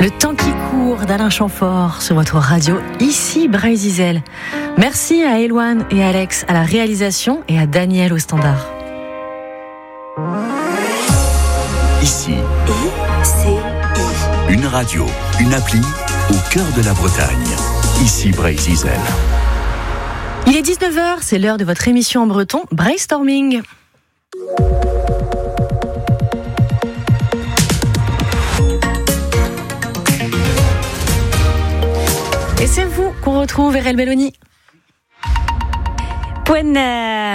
Le temps qui court d'Alain Chamfort sur votre radio ici Breizh Merci à Eloane et Alex à la réalisation et à Daniel au standard. Ici. I, C, I. Une radio, une appli au cœur de la Bretagne. Ici Breizh Il est 19h, c'est l'heure de votre émission en breton Brainstorming. Et c'est vous qu'on retrouve, Erel Belloni. Poent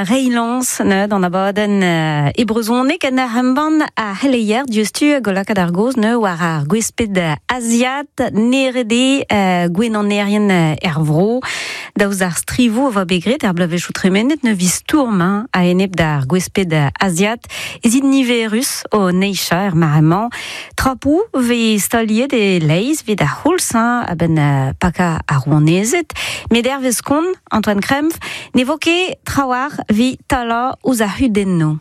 reiñ lañs neuze d'an abadenn e brezhoneg en ur embann ar c'heleier diouzhtu hag o lakaat ar gaoz neuze war ar gwesped aziat neret eo gwenanerien er vro. Daoust d'ar strivoù a oa bet graet er bloavezhioù tremenet ne vi stourm a-enep d'ar gwesped aziat ez int niverus o neizhañ er mare-mañ. Trapoù 'vez staliet e-leizh evit ar c'houlz a-benn pakañ ar rouanezed. Met hervez kont Antoine Krempf ne vo ket trawalc'h evit talañ ouzh ar c'hudennoù.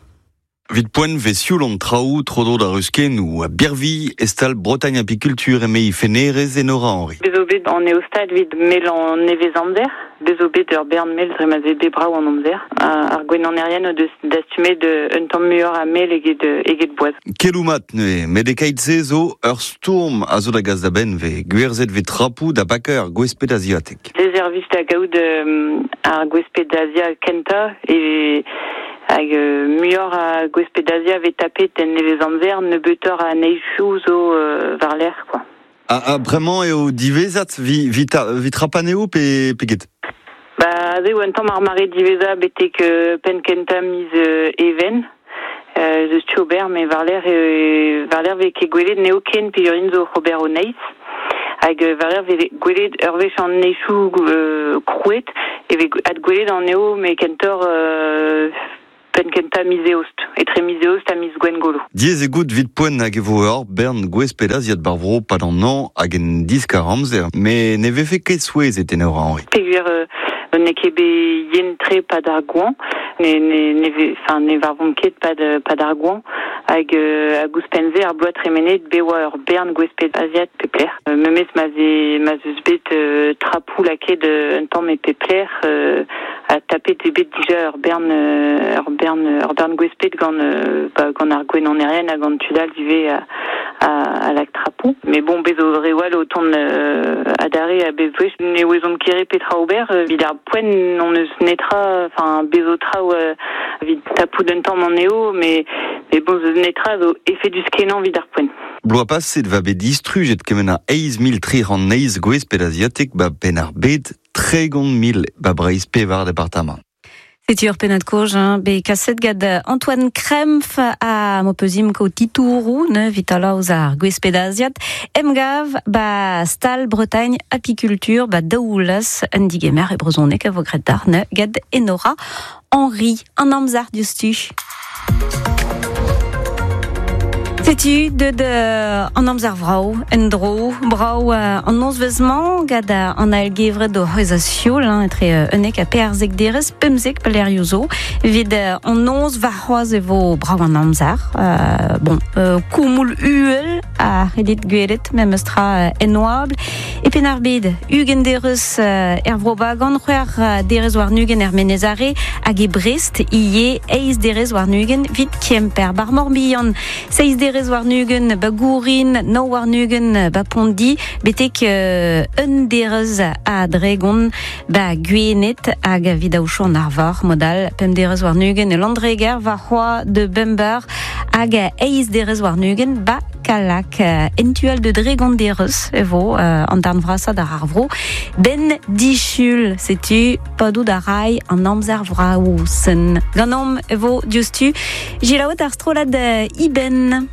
Evit poent 'vez sioul an traoù tro-dro d'ar ruskennoù ha birvilh e stal Bretagne Apiculture eme he fennerez Enora Henry. Bez zo bet an eostad evit melañ nevez-amzer. Bez zo bet ur bern mel dre ma 'z eo bet brav an amzer. Ar gwenanerien o deus dastumet un tamm muioc'h a mel eget eget boaz. Keloù mat neuze, met e-keit-se zo ur stourm a zo da gas da benn 'vez gwerzhet 'vez trapoù da bakañ ar gwesped aziatek. Se servij da gaout ar gwesped Azia kentañ e hag muioc'h a gwesped Azia 'vez tapet en nevezamzer, nebeutoc'h a neizhioù zo war-lerc'h quoi. Ha bremañ eo diwezhat 'vit trapañ anezho pe pe get? Ba aze eo un tamm ar mare diwezhañ betek penn kentañ miz Even. Ez eus tu ober met war-lerc'h war-lerc'h 'vez ket gwelet n'eo ken peogwir zo oc'h ober o neizh. Hag war-lerc'h 'vez gwelet ur wech an neizhioù krouet e vez adgwelet anezho met kentoc'h penn-kentañ miz Eost, etre miz Eost ha miz Gwengolo. Diaes eo goût 'vit poent hag e vo ur bern gwez pedaziat 'bar vro 'pad an hañv hag en diskar-amzer, met ne vefe ket souezhet Enora Henri. Peogwir n'eo ket bet yen-tre 'pad ar goañv, ne ne ne vez enfin ne varvomp ket 'pad 'pad ar goañv hag hag ouzhpenn-se ar bloaz tremenet bet 'oa ur bern gwez pedaziat pep lec'h. Memes ma 'z eo ma 'z eus bet trapoù lakaet un tamm e pep lec'h ha tapet eo bet dija ur bern ur bern ur bern gwesped gant ba gant ar gwenanerien ha gant tud all ivez a a lak trapoù. Mais bon, bez zo reoù all o tont adarre a bep wech. Ne ouezomp ket re petra ober. Evit ar poent n'hon eus netra, enfin bez zo traoù evit tapout un tamm anezho, mais mais bon, zeus netra zo efedus-kenañ evit ar poent. Bloaz paset 'va bet distrujet kement a 8308 gwesped aziatek 'ba Penn-ar-Bed, 30 000 'ba Breizh pevar departamant. Setu ur pennad-kozh hein, bet kaset gant Antoine Krempf ha m'ho peus imko titouroù neuze evit talañ ouzh ar gwesped aziat. Emgav 'ba stal Bretagne Apiculture 'ba Daoulaz, un digemer e brezhoneg a vo graet dac'h neuze gant Enora Henri. An amzer diouzhtu. Setu deut an amzer vrav en-dro. Brav an nozvezh-mañ gant an ael-gevred o c'hwezhañ sioul hein, etre 11 ha 14 derez, 15 pelec'hioù zo. Evit an noz warc'hoazh e vo brav an amzer. Bon, koumoul uhel a c'hellit gwelet memes tra en oabl. E Penn-ar-Bed, 20 derez er Vro-Bagan, c'hwec'h derez warn-ugent er Menez Are hag e Brest ivez eizh derez warn-ugent evit Kemper. Bar Morbihan, seizh derez warn-ugent ba Gourin, nav warn-ugent ba Pondi, betek un derez a dregont ba Gwened hag evit aochou an arvor, mod-all pemp derez warn-ugent e Landreger, warc'hoazh de bemp eur hag eizh derez warn-ugent ba Kallag. En tu all de dregont derez e vo an darn vrasañ d'ar ar vro. Ben disul, setu padout a ray an amzer vrav-sen. Ganeomp e vo diouzhtu Gilaouet ar strollad Iben.